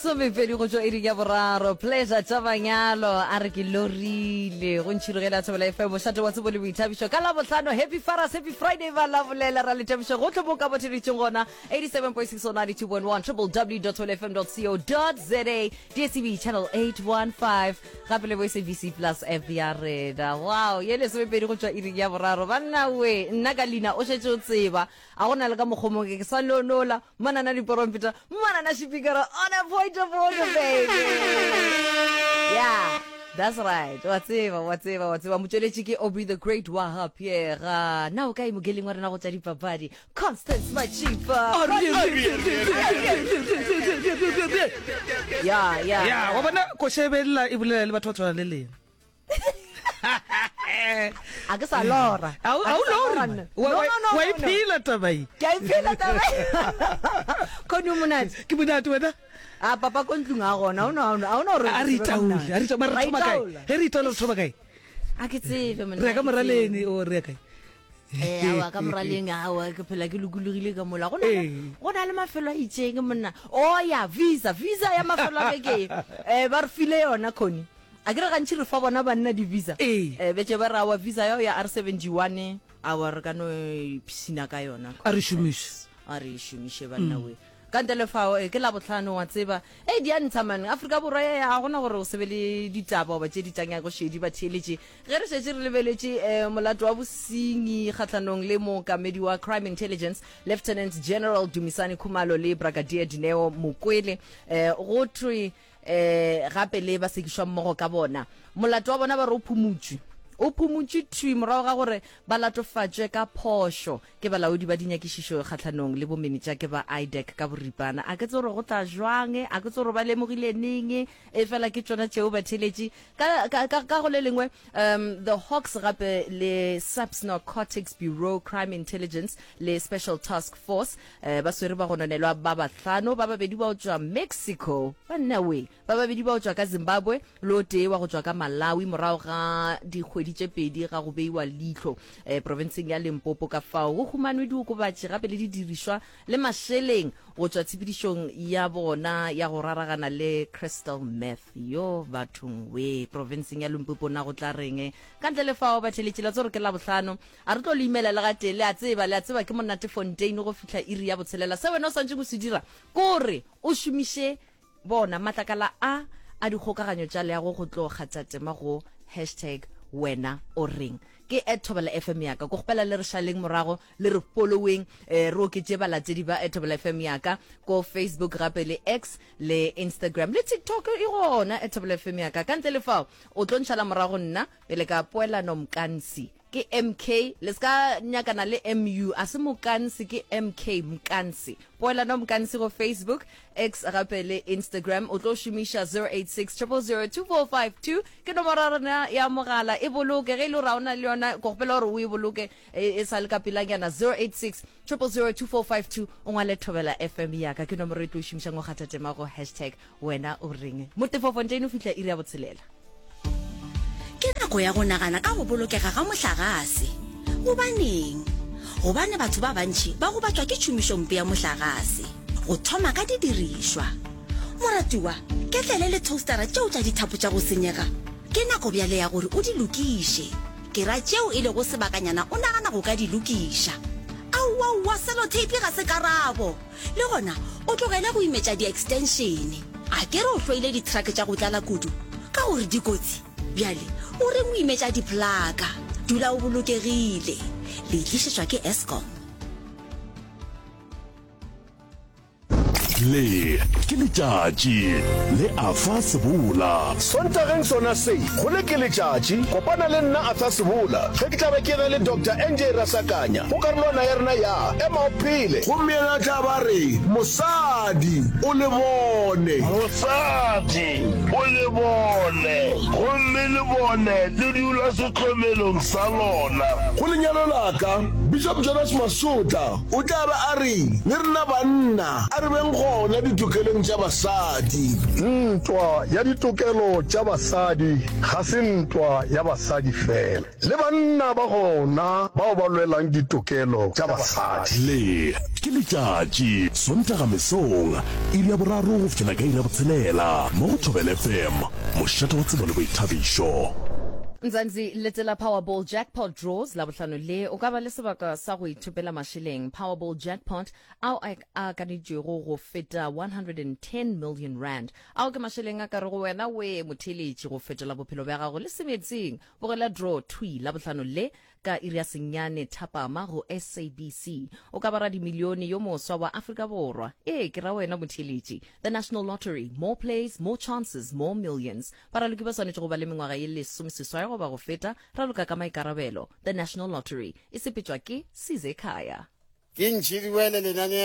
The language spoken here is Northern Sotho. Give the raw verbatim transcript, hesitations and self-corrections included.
Lesomepedi go tšwa iring ya boraro. Pleasure tša manyalo a re ke lorile go ntšhirogela Thobela F M mošate wa tsebo le boithabišo ka Labohlano. Happy Faras, Happy Friday ba la bolela ra lethabišo gohle mo ka botheletšeng gona eighty-seven point six or ninety-two point one triple w dot thobela f m dot co dot za D S T V channel eight one five gape le bo S A B C plus app ya rena. Wow, ye lesomepedi go tšwa iring ya boraro. Banna we, nna ka leina o šetše o tseba a go na le ka mokgwa mongwe ke sa nonola manana diporompeta manana šipikara on a point of order baby. Yeah, that's right. Wa tseba, wa tseba, wa tseba. Motšweletši ke Aubrey the Great wa ga Pierre. Na o kae mokeling wa rena go tša dipapadi? Constance Machipa. Yeah, yeah. Yeah, wa bona koša e belela e bolela le batho ba tshwana le lena. A ke sa lora. A o A ke sa lore, lora man. nna. Wa No, wa no, no, wa no, no. iphela taba ye. Ke a iphela taba ye. Khoni o monate. Ke monate wena. A papa ko ntlong a gona. O no a o no re. A re itaole, a re itaole. Mara re Ra thoma kae? itaola. Ge re itaola re thoma kae? A ke tsebe monna. Re ya ka a ke tsebe. moraleng o re ya kae? Eh, aowa, ka moraleng, aowa, ke phela ke lokologile ka mola. Go na le, Ee. go na le mafelo a itšeng monna. Oh ya, visa, visa ya mafelo a beke. Eh, ba re file yona Khoni. A ke re gantši re fa bona banna di-visa. Ee. Eh, betše ba re aowa visa yao ya R seventy-one, aowa re ka no ipshina ka yona. A re šomiše. A re šomiše banna we. Ka ntle le fao, eh, ke Labohlano wa tseba. Ei, di a ntsha man. Afrika Borwa ya ya, ga gona gore o se be le ditaba goba tše di tanyago šedi ba theeletše. Ge re šetše re lebeletše, eh, molato wa bosenyi kgahlanong le mookamedi wa Crime Intelligence, Lieutenant General Dumisani Khumalo le Brigadier Dineo Mokwele, eh, go thwe, eh, gape le ba sekišwa mmogo ka bona. Molato wa bona ba re o phumutšwe. O phumutšwe thwi morago ga gore ba latofatšwe ka phošo ke balaodi ba dinyakišišo kgahlanong le bomenetša ke ba I D E C ka boripana. A ke tsebe gore go tla jwang, a ke tsebe gore ba lemogile neng, e fela ke tšona tšeo ba theletše. Ka, ka, ka, ka go le lengwe, um, the Hawks gape le SAPS Narcotics Bureau Crime Intelligence le Special Task Force, eh, ba swere ba gononelwa ba bahlano, ba babedi ba go tšwa Mexico, banna we, ba babedi ba go tšwa ka Zimbabwe le o tee wa go tšwa ka Malawi morago ga dikgwedi tše pedi ga go beiwa leihlo, eh, profenseng ya Limpopo. Ka fao go humanwe diokobatši gape le didirišwa le mašeleng go tšwa tshepedišong ya bona ya go raragana le crystal meth. Yo bathong we, profenseng ya Limpopo na go tla reng? Ka ntle le fao ba theletše la tsore ke Labohlano, a re tlo le imela le gatee. Le a tseba, le a tseba ke monate Fontein go fihla iri ya botshelela. Se wena o swantšeng o se dira kore o šomiše bona matlakala a a dikgokaganyo tša leago go tlo kgatha tema go hashtag wena o reng. Ke at Thobela F M yaka. Ko kgopela le re šaleng morago, le re following, eh, re oketše balatedi ba at Thobela F M yaka ko Facebook gape le X le Instagram le TikTok e gona at Thobela F M yaka. Ka ntle le fao o tlo ntšhala morago nna pele ka poelano Mkansi. Ke M K, le ska nyakana le M U, a se Mokansi, ke M K Mkansi. Poelano Mkansi go Facebook, X gape le Instagram. O tlo šomiša zero eight six triple zero two four five two ke nomoro ya rena ya mogala. E boloke ge e le gore ga o na le yona, ko kgopela gore o e boloke e, e sa le ka pelanyana. zero eight six triple zero two four five two o ngwale Thobela F M yaka, ke nomoro e tlo šomišang go kgatha tema go hashtag wena o reng. Motefo Fontein o fihla iri ya botshelela. Ke nako ya go nagana ka go bolokega ga mohlagase. Gobaneng? Gobane batho ba bantši ba gobatšwa ke tšhomišompe ya mohlagase, go thoma ka didirišwa. Moratiwa, ketlele le toastera tšeo tša dithapo tša go senyega, ke nako bjale ya gore o di lokiše. Ke ra tšeo e lego sebakanyana o nagana go ka di lokiša. Aowaowa, sellotape ga se karabo. Le gona o tlogele go imetša di-extension. A ke re o hloile di-truck tša go tlala kudu ka gore di kotsi? Bjale o reng o imetša diplaka? Dula o bolokegile. Le tlišetšwa ke Eskom. Le ke letšatši le Arthur Sebola. Sontageng sona se, go le ke letšatši, kopana le nna Arthur Sebola ge ke tla be ke na le Doctor N J Rasakanya go karolwana ya rena ya Ema o Phele. Gomme yena tla ba re, Mosadi, o le bone. Mosadi, o le bone, gomme le bone le dula sehlomelong sa lona. Go lenyalo la ka, Bishop Jonas Masotla o tla ba a re, le rena banna a re beng gona ditokelong tša basadi. Ntwa ya ditokelo tša basadi ga se ntwa ya basadi fela, le banna ba gona bao ba lwelang ditokelo tša basadi. Le Ke letšatši, Sontaga mesong, iri ya boraro go fihlela ka iri ya botshelela, mo go Thobela F M, mošate wa tsebo le boithabišo. Mzansi, Letela Powerball Jackpot Draws Labohlano le, o ka ba le sebaka sa go ithopela mašeleng Powerball Jackpot ao a akaneditšwego go feta one hundred and ten million rand. Ao ke mašeleng a ka rego wena we motheeletši go fetola bophelo bja gago le semetseng. Bogela draw thwi Labohlano le ka iri ya senyane thapama go S A B C. O ka ba radimilione yo moswa wa Afrika Borwa. Ee, ke ra wena motheeletši. The National Lottery, more plays, more chances, more millions. Baraloki ba swanetše go ba le mengwaga ye lesomeseswai goba go feta. Raloka ka maikarabelo. The National Lottery e sepetšwa ke Sizekhaya. Ke ntšhidiwele lenaneo.